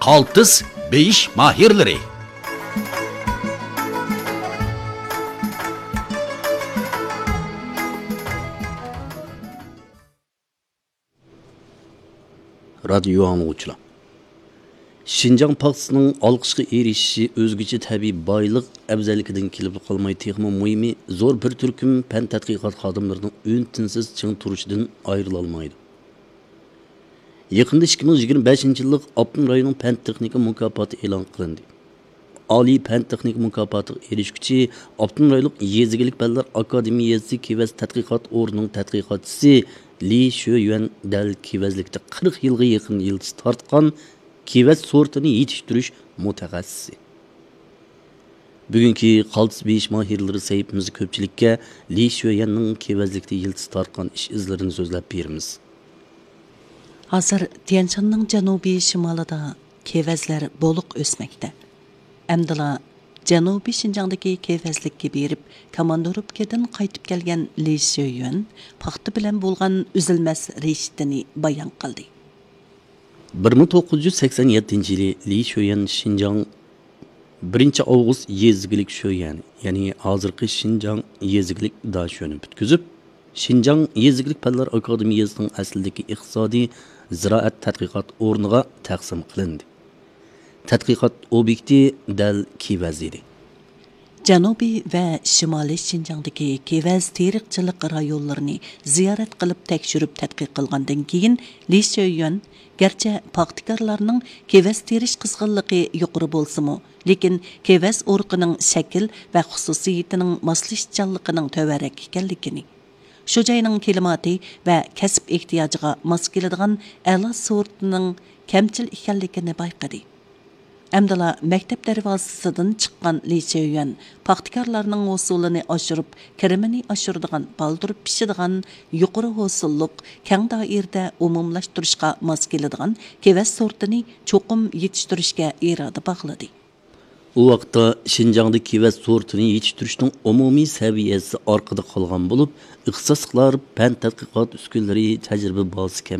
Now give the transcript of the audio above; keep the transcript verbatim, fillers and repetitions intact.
ئالتىس بېيىش ماھىرلىرى. رادىيو ئاڭلىغۇچىلار، شىنجاڭ پاختىسىنىڭ ئالقىشقا ئېرىشىشى ئۆزگىچە تەبىئىي بايلىق ئەۋزەللىكىدىن كېلىپلا قالماي، تېخىمۇ مۇھىمى، زور بىر تۈركۈم پەن تەتقىقات خادىملىرىنىڭ ئۈن-تىنسىز چىڭ تۇرۇشىدىن ئايرىلالمايدۇ. يېقىندا ئىككى مىڭ يىگىرمە بەشىنچى يىللىق ئاپتونوم رايوننىڭ پەن تېخنىكا مۇكاپاتى ئېلان قىلىندى. ئالىي پەن تېخنىكا مۇكاپاتىغا ئېرىشكۈچى ئاپتونوم رايونلۇق يېزا ئىگىلىك پەنلەر ئاكادېمىيەسى كېۋەز تەتقىقات ئورنىنىڭ تەتقىقاتچىسى لى شۆيۈەن دەل كېۋەزلىكتە قىرىق يىلغا يېقىن يىلتىز تارتقان كېۋەز سورتىنى يېتىشتۈرۈش مۇتەخەسسىسى. بۈگۈنكى قالتىس بېيىش ماھىرلىرى سەھىپىمىزدە كۆپچىلىككە لى شۆيۈەننىڭ كېۋەزلىكتە يىلتىز تارتقان ئىش ئىزلىرىنى سۆزلەپ بېرىمىز. ھازىر تيەنشاننىڭ جەنۇبىي شىمالىدا كېۋەزلەر بولۇق ئۆسمەكتە. ئەمدىلا جەنۇبىي شىنجاڭدىكى كېۋەزلىككە بېرىپ، كاماندىروپكىدىن قايتىپ كەلگەن لى شۆيۈەن پاختا بىلەن بولغان ئۈزۈلمەس رىشتىنى بايان قىلدى. بىر مىڭ توققۇز يۈز سەكسەن يەتتىنچى يىلى لى شۆيۈەن شىنجاڭ بىرىنچى ئاۋغۇست يېزا ئىگىلىك شۆيۈەن، يەنى ھازىرقى شىنجاڭ يېزا ئىگىلىك داشۆنى پۈتكۈزۈپ، شىنجاڭ يېزا ئىگىلىك پەنلەر ئاكادېمىيەسىنىڭ ئەسلىدىكى ئىقتىسادىي زىرائەت تەتقىقات ئورنىغا تەقسىم قىلىندى. تەتقىقات ئوبيېكتى دەل كېۋەز ئىدى. جەنۇبىي ۋە شىمالىي شىنجاڭدىكى كېۋەز تېرىقچىلىق رايونلىرىنى زىيارەت قىلىپ تەكشۈرۈپ تەتقىق قىلغاندىن كېيىن، لى شۆيۈەن گەرچە پاختىكارلارنىڭ كېۋەز تېرىش قىزغىنلىقى يۇقىرى بولسىمۇ، لېكىن كېۋەز ئۇرۇقىنىڭ شەكىل ۋە خۇسۇسىيىتىنىڭ ماسلىشىشچانلىقىنىڭ تۆۋەنرەك ئىكەنلىكىنى، شۇ جاينىڭ كىلىماتى ۋە كەسىپ ئېھتىياجىغا ماس كېلىدىغان ئەلا سورتىنىڭ كەمچىل ئىكەنلىكىنى بايقىدى. ئەمدىلا مەكتەپ دەرۋازىسىدىن چىققان لى شۆيۈەن پاختىكارلارنىڭ ھوسۇلىنى ئاشۇرۇپ، كىرىمىنى ئاشۇرىدىغان، بالدۇر پىشىدىغان، يۇقىرى ھوسۇللۇق، كەڭ دائىرىدە ئومۇملاشتۇرۇشقا ماس كېلىدىغان كېۋەز سورتىنى چوقۇم يېتىشتۈرۈشكە ئىرادە باغلىدى. ئۇ ۋاقىتتا شىنجاڭدا كېۋەز سورتىنى يېتىشتۈرۈشنىڭ ئومۇمىي سەۋىيەسى ئارقىدا قالغان بولۇپ، ئىختىساسلىقلار، پەن تەتقىقات ئۈسكۈنىلىرى، تەجرىبە بازىسى كەم.